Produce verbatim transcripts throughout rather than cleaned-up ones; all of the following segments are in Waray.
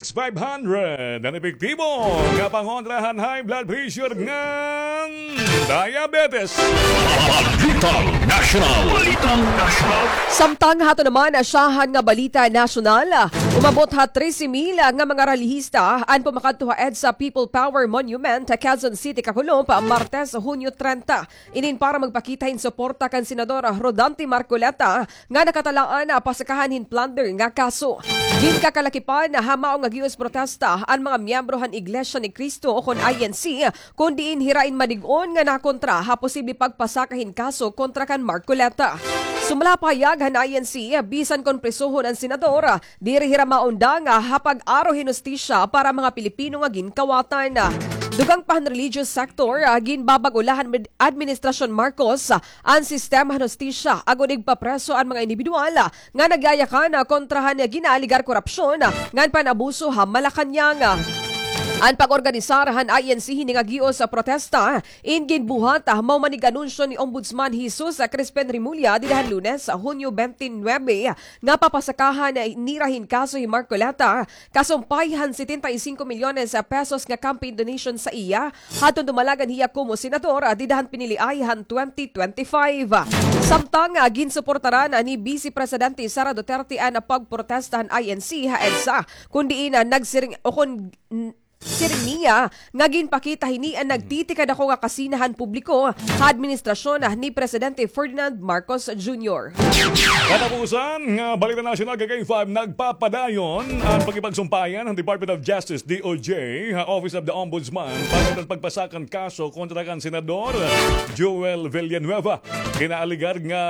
five hundred an epektibo nga pangontra han high blood pressure ngan diabetes. Balitang Nasyonal. Balitang Nasyonal. Samtang hato naman, asyahan nga balita nasyonal, umabot ha trese mil nga mga relihista an pumakadto ha EDSA People Power Monument ha Quezon City kakulop, Martes, Hunyo trenta. Inin para magpakita hin suporta kan Senador Rodante Marcoleta nga nakatalaan na pasakahan hin plunder nga kaso. Ginkakalakipan ha mao nga gihos protesta an mga miyembro han Iglesia ni Cristo ukon I N C, kon diin hira in madig-on nga nakontra ha posible pagpasaka hin kaso kontra kan Marcoleta. Sumala pahayag han I N C, bisan kon prisohon an senador, diri hira maundang ha pag-aro hin hustisya para mga Pilipino nga ginkawatan. Dugang pa han religious sector, ginbabag-o la han administrasyon Marcos an sistema han hustisya agod igpapreso an mga indibidwal nga nagyayakan kontra han ginaaligar korapsyon ngan pan-abuso ha Malacañang. An pag-organisar han I N C hini nga gihos protesta in ginbuhat mao man ig-anunsyo ni Ombudsman Jesus Crispin Remulla dida han Lunes, Hunyo twenty-nine, nga papasakahan nira hin kaso hi Marcoleta kasumpay han setenta y cinco milyones pesos nga campaign donation sa iya hadton dumalag an hiya komo senador dida han piniliay han twenty twenty-five. Samtang, ah, ginsuportaran ni Vice Presidente Sara Duterte an pagprotesta han I N C ha EDSA, kon diin, ah, nagsiring o kon n-, siring niya nga ginpakita hini an nagtitikadako nga kasina han publiko ha administrasyon ni Presidente Ferdinand Marcos Junior. Katapusan nga balita nasyonal, ka K five, nagpapadayon an pakipagsumpayan han Department of Justice, D O J, ha Office of the Ombudsman para sa pagpasaka han kaso kontra kan Senador Joel Villanueva. Kinaaligar nga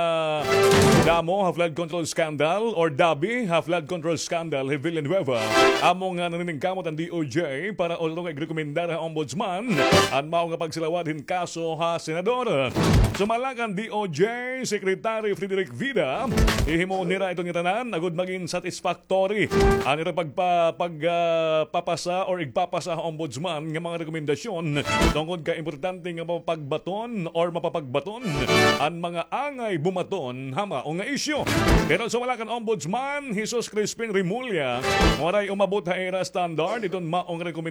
damo ha flood control scandal or dabi ha flood control scandal hi Villanueva. Amo nga naniningkamot an D O J para ulo nga igrekomendar ha Ombudsman an mao nga pagsilawad hin kaso ha Senador. Sumala kan D O J Secretary Frederick Vida, ihimo nira iton ngatanan agod magin satisfactory an ira pagpa-, pag, ah, papasa or igpapasa ha Ombudsman nga mga rekomendasyon tungod kay importante nga mapapagbaton or mapapagbaton an mga angay bumaton ha mao nga isyu. Pero sumala kan Ombudsman Jesus Crispin Remulla, waray umabot ha ira standard iton mao nga rekomendasyon.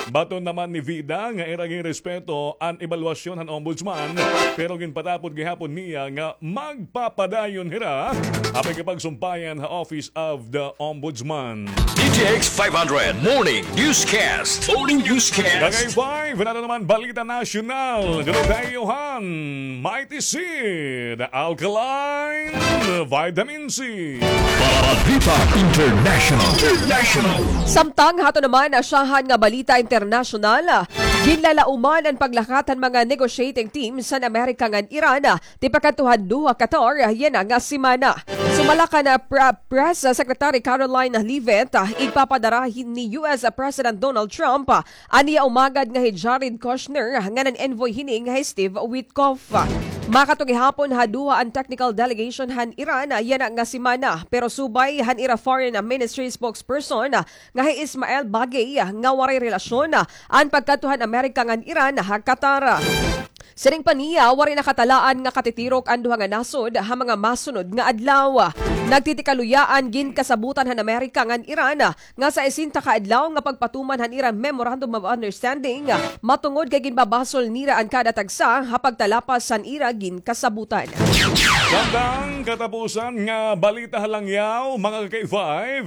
Baton naman ni Vida nga ira ginrespeto an ebalwasyon han Ombudsman, pero ginpatapod gihapon niya nga magpapadayon hira ha pakipagsumpayan ha Office of the Ombudsman. D T X five hundred Morning Newscast. Morning Newscast. Kagay five, nato naman balita nasyonal. Dulot ha iyo han Mighty Seed Alkaline Vitamin C. Balita International. International. Samtang hato naman asyahan nga balita internasyonal, ginlalauman an paglakat han mga negotiating teams han Amerika ngan Iran tipakadto han Doha, Qatar, yana nga semana. Sumala kan, ah, Pre-, Press Secretary Karoline Leavitt, ah, igpapadara hin-, ni U S President Donald Trump, ah, an iya umagad nga hi Jared Kushner, ah, ngan an envoy hini nga hi Steve Witkoff. Makadto gihapon ha Doha an technical delegation han Iran, ah, yana nga semana, pero subay han ira foreign, ah, ministry spokesperson, ah, nga hi Ismail Baghei, ah, nga waray relasyon, ah, an pagkadto han Amerika ngan Iran ha Qatar. Siring pa niya, waray nakatalaan nga katitirok an duha nga nasod ha mga masunod nga adlaw. Nagtitikaluyaan ginkasabutan han Amerika ngan Iran nga sesenta ka adlaw nga pagpatuman han ira Memorandum of Understanding, matungod kay ginbabasol nira an kada tagsa ha pagtalapas han ira ginkasabutan. Samtang katapusan nga balita ha langyaw, mga ka-K five,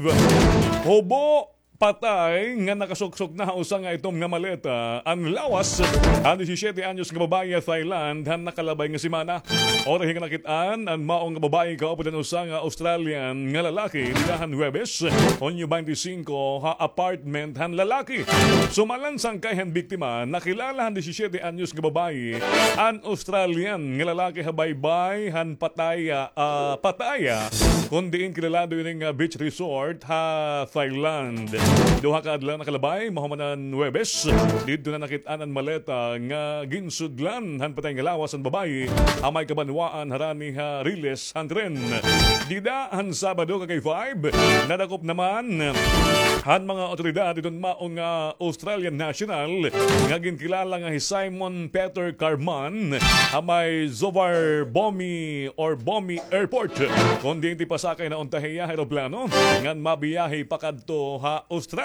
hubo patay nga nakasuksok na ha usa nga itom nga maleta an lawas han disisiete anyos nga babaye ha Thailand han nakalabay nga semana. Waray hingga nakit-an an mao nga babaye kaupod han usa nga Australian nga lalaki dida han Huwebes, Hunyo twenty-five, ha apartment han lalaki. Sumala han sangkay han biktima, nakilala han disisiete anyos nga babaye an Australian nga lalaki ha baybay han pataya, ah, Pattaya, kon diin kilalado ini nga beach resort ha Thailand. Duha ka adlaw nakalabay, mahuman han Huwebes, didto na nakit-an an maleta nga ginsudlan han patay nga lawas han babaye ha may kabanwaan harani ha riles han tren. Dida han Sabado, ka-K five, nadakop naman han mga awtoridad iton mao nga Australian national nga ginkilala nga hi Simon Peter Carman ha may Zovar Bomi or Bomi Airport, kon diin tipasakay na unta hiya ha eroplano ngan mabiyahe pakadto ha Australia.